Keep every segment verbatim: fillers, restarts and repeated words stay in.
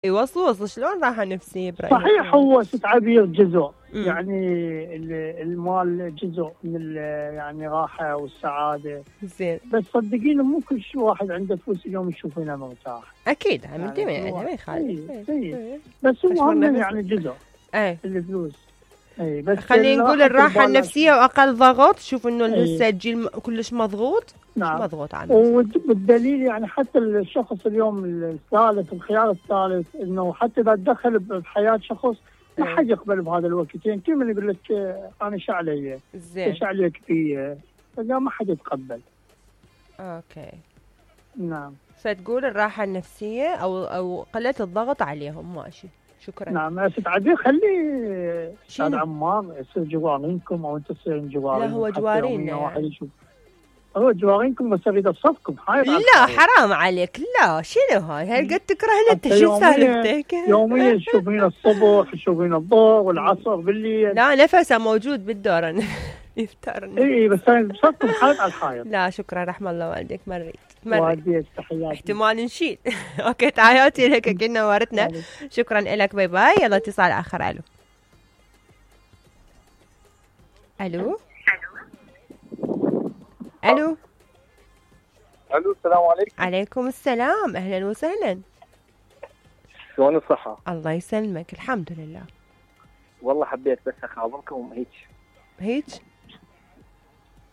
يوصل وصل شلون راحة نفسية برأيك؟ صحيح هو تعبير جزء مم. يعني المال جزء من يعني راحة والسعادة زين، بس صدقيني مو كل شيء واحد عنده فلوس اليوم يشوف هنا مرتاح. أكيد عم الجميع يعني ما يخالف، بس هو هم يعني جزء ايه الفلوس. اي بس خلينا نقول الراحة النفسية وأقل ضغط. شوف إنه لسه الجيل كلش مضغوط. نعم. مضغوط عنه. والدليل يعني حتى الشخص اليوم الثالث الخيار الثالث إنه حتى إذا تدخل بحياة شخص ما حد يقبل بهذا الوقت. يعني كل من يقول لك أنا ايش علي؟ زين. ايش عليك فيه؟ فلا ما حد يتقبل. أوكي. نعم. فتقول الراحة النفسية أو أو قلة الضغط عليهم ماشي. شكرا. نعم بس عادي خلي استاذ عمار يصير جوارينكم او انت تصير جوارين. لا هو جوارينا يعني. هو جوارينكم بس اريد اصفكم. لا حرام عليك، لا شنو هاي؟ هل قد تكرهنا انت؟ شو سالفتك؟ يوميا تشوفين الصبح تشوفين الظهر والعصر بالليل. لا نفسه موجود بالدور يفترني. اي بس انا بصفكم حائط على الحائط. لا شكرا رحم الله والديك. مريت مريت تحياتي. احتمال نشيل. اوكي تحياتي لك كنا وارتنا. شكرا لك باي باي. يلا اتصال اخر. الو الو الو الو السلام عليكم. عليكم السلام، اهلا وسهلا. شلون الصحة؟ الله يسلمك الحمد لله. والله حبيت بس اخابركم هيك هيك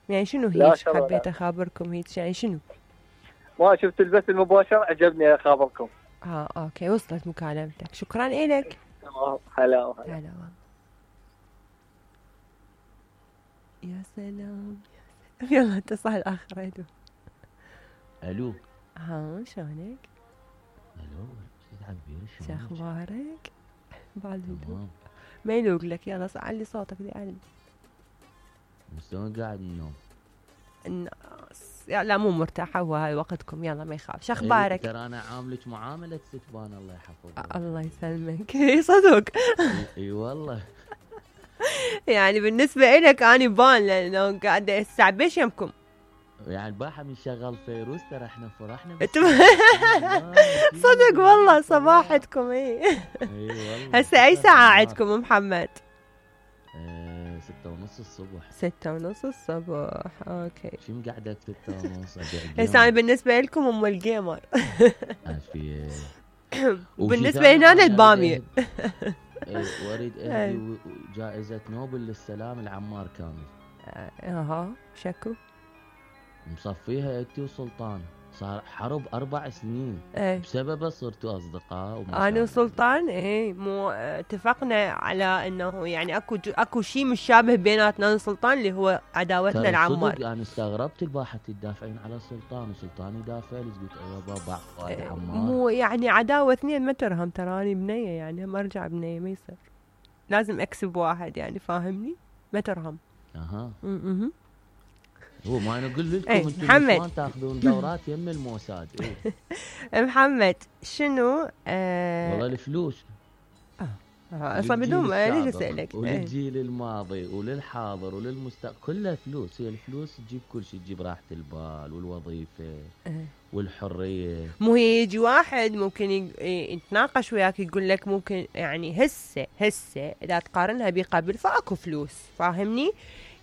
يعني شنو هيك؟ حبيت اخابركم هيك يعني شنو؟ ما شفت البث المباشر عجبني اخابركم. اه اوكي وصلت مكالمتك. شكرا لك. هلا هلا. يا سلام. يلا اتصال اخر. الو الو ها شلونك؟ الو سيد عبير شو اخبارك؟ بعد ما يلوق لك. يلا علي صوتك دي علي. شلون قاعد النوم؟ الناس لا مو مرتاحة وهاي وقتكم. يلا ما يخاف. شو اخبارك؟ ترى انا عاملك معاملة ستبان الله يحفظك. الله يسلمك. صدق. اي والله. يعني بالنسبة إلك أنا بان لأنه قاعدة استعبيش يمكم. يعني الباحة من شغل فيروز ترى احنا فرحنا. صدق والله صباحتكم. اي والله. هسه أي ساعة عندكم محمد؟ ايه ستة ونص الصبح. ستة ونص الصبح. اوكي. شو قاعدة ستة ونص؟ هسه أنا بالنسبة لكم أم الجيمر. عافية. وبالنسبة هنا البامية. واريد اهدي جائزة نوبل للسلام العمار كامل. اها شكو مصفيها انتي وسلطان. صار حرب اربع سنين. ايه. بسببه صرتوا اصدقاء. انا وسلطان ايه مو اتفقنا على انه يعني اكو اكو شيء مشابه بيناتنا وسلطان اللي هو عداوتنا العمار. صدق انا استغربت الباحة تدافعين على سلطان وسلطان يدافع لي. قلت ايوه بابا فؤاد عمار. مو يعني عداوة اثنين ما ترهم. تراني بنية يعني ما ارجع بنية ما يصير. لازم اكسب واحد يعني فاهمني ما ترهم. اها. امم هو ما انا اقول لكم انتم شلون تاخذون دورات يم الموساد. إيه؟ محمد شنو آه والله الفلوس اه اصلا بدون ليش اسالك. وللجيل الماضي وللحاضر وللمستقبل كلها فلوس. هي الفلوس تجيب كل شيء. تجيب راحة البال والوظيفة اه. والحرية. مو هي يجي واحد ممكن يتناقش وياك يقول لك ممكن يعني هسه هسه اذا تقارنها بقبل فاكو فلوس فاهمني.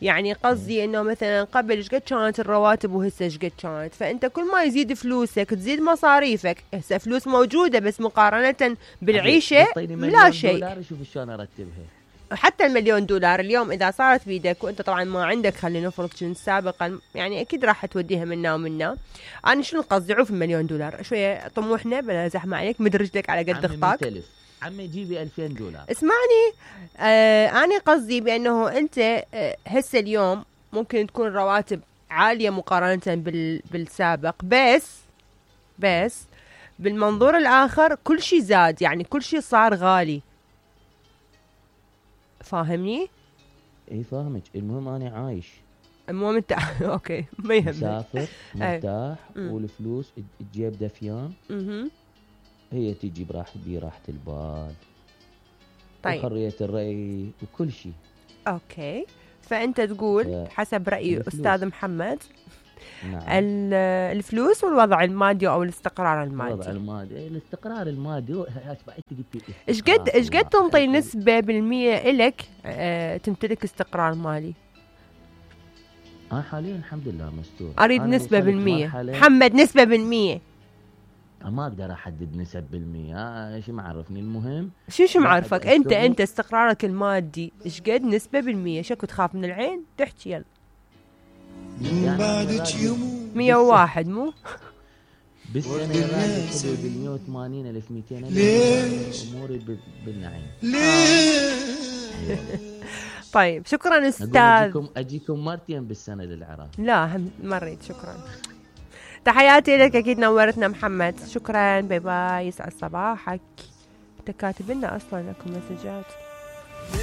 يعني قصدي انه مثلا قبل ايش قد كانت الرواتب وهسه ايش قد كانت. فانت كل ما يزيد فلوسك تزيد مصاريفك. هسه فلوس موجوده بس مقارنه بالعيشه لا شيء. دولار شوف شلون ارتبها. حتى المليون دولار اليوم اذا صارت بيدك وانت طبعا ما عندك خلينا نفرض كنت سابقا يعني اكيد راح توديها منا ومنا. انا شنو قصدي عوف المليون دولار شويه طموحنا بلا زحمه عليك مد رجلك على قد خطاك. عمي جيبي ألفين دولار. اسمعني آه أنا قصدي بأنه أنت آه هسه اليوم ممكن تكون رواتب عالية مقارنة بال بالسابق بس بس بالمنظور الآخر كل شيء زاد يعني كل شيء صار غالي فاهمني؟ إيه فاهمك. المهم أنا عايش. المهم أنت أوكي ما يهمك. مسافر مرتاح والفلوس تجيب دفيان. اها هي تجي براحة براحة البال. طيب. وحرية الرأي وكل شيء. اوكي فانت تقول حسب رأي استاذ محمد نعم. الفلوس والوضع المادي او الاستقرار المادي. الوضع المادي، الاستقرار المادي هو ايش قد ايش قد تنطي نسبة بالمية الك اه تمتلك استقرار مالي؟ انا حاليا الحمد لله مستور. اريد نسبة بالمية محمد، نسبة بالمية. ما اقدر احدد نسب بالمية، ها شو معرفني. المهم شو شو معرفك انت انت استقرارك المادي ايش قد نسبة بالمية؟ شكو تخاف من العين؟ تحكي يلا. مية وواحد مو؟ بالسنة غالي حدود مية وثمانين ألف مئتين ألف. أموري بالنعيم. طيب شكرا أستاذ. أجيكم أجيكم مرتين بالسنة للعراق. لا هم مريت. شكرا، تحياتي لك، أكيد نورتنا محمد. شكرا، باي باي، يسعد صباحك. أنت كاتب لنا أصلا لكم مسجات.